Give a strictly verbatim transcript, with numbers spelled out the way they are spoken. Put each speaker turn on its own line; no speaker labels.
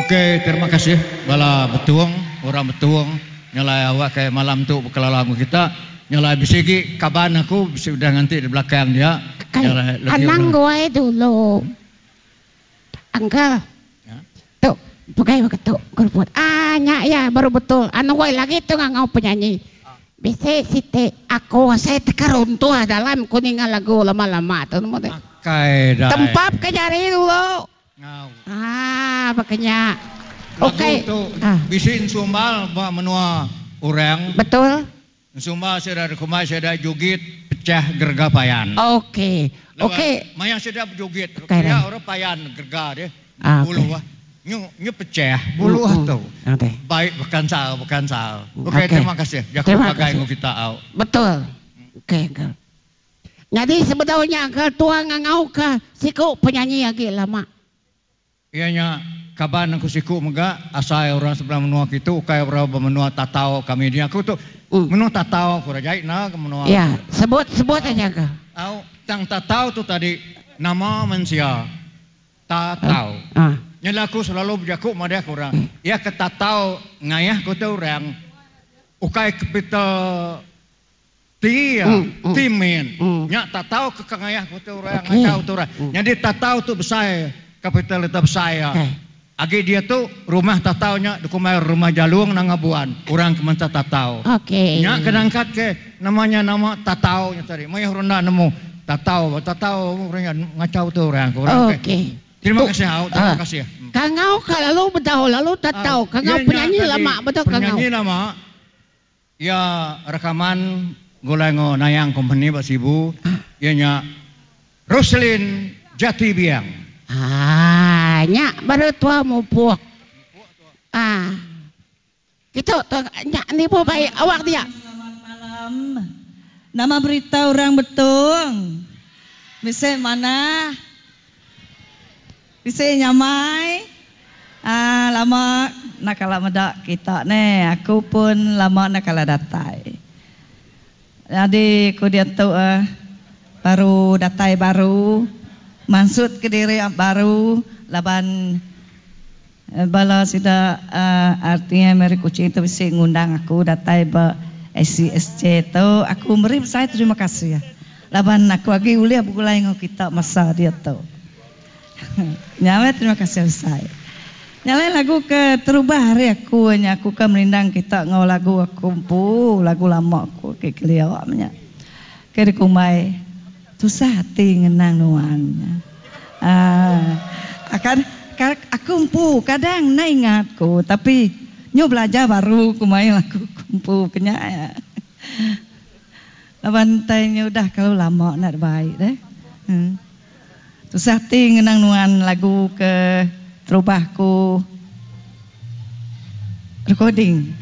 Okey, terima kasih bala Betong, orang Betong nyelai awak ke malam tu bekelala enggau kita. Nyelai bisi agi kaban aku bisi udah nganti di belakang dia. Nyelai lebih
Anang
orang.
Guai dulu. Uncle. Tu pegai baka tu keruput. Ah nya iya baru betul. Anang guai lagi tu ngangau penyanyi. Bisi siti aku asai teka runtuh dalam ku ninga lagu lama-lama tu nemu deh.
Akai dai.
Tempap ke jari dulu.
Ngau.
Ah baka nya.
Lagu
Okey.
tu
Ah.
bisi ensumbal ba menua orang.
Betul.
Ensumbal sida dikumbai sida jugit pecah gerega payan.
Okey.
Laban
Okey.
maya sida bejugit
Okey
pia
deh.
orang payan gerega deh
Ah
buluh
okey.
nyu nyu pecah buluh
Mm-mm.
tu.
Okey.
Baik bekansal bekansal. Okey
Okey.
terima kasih jaku
Terima
pagai
kasih.
enggau kita au.
Betul. Okey uncle. Nyadi sebedau nya uncle tua ngangau ka siku penyanyi agi lama.
Iya nya kaban aku siku mega asai orang sebelah menua kitu ukai orang ba menua Tatau kami dia aku tu menua Tatau ku rajai enda ke menua
Iya sebut sebut aja ka.
Au tang Tatau tu tadi nama mensia Tatau. Nya aku selalu bejaku madah ke orang iya ke Tatau ngayah ku tu orang ukai capital T iya, ti min. Nya tatau ke ka ngayah ku tu orang ngachau tu orang. Nyadi tatau tu besai kapital ita besai iya. Agi diatu rumah tatau nya dikumbai Rumah Jalung Nanga Buan orang ke menta tatau. Nya ke nangkat ke nama nya nama tatau nya tadi. Mayuh orang enda nemu tatau tatau orang nya ngachau tu orang ku orang ke. Terima kasih au terima kasih.
Kangau ka lalu bedau lalu tatau kangau penyanyi lama bedau kangau.
Penyanyi lama. Iya rekaman gulai enggau Nayang Company ba Sibu iya nya Roselyn Jati Biang.
Haa nya baru tua mupuk. Haa kitu tu nya nibu bai awak dia.
Selamat malam. Nama berita orang Betong? Bisi manah? Bisi nyamai aaa lama enda kala meda kita neh aku pun lama enda kala datai. Nyadi ku diatu eh baru datai baru mansut kediri baru laban bala sida aaa R T M ari Kuching tu bisi ngundang aku datai ba S C S J tu aku meri besai terima kasih laban aku agi ulih begulai enggau kita masa diatu. Nya meh terima kasih besai. Nya alai lagu ke terubah ari aku nya aku ke merindang kita enggau lagu aku empu lagu lama aku agi kelia meh nya. Ke dikumbai tusah ati ngenang nuan nya. Aaa akan aku empu kadang enda ingat ku tapi nyu belajar baru ku mai lagu ku empu ke nya. Laban tai nya udah kelalu lama enda dibai deh. Tusah ti ngenang nuan lagu ke terubah ku recording.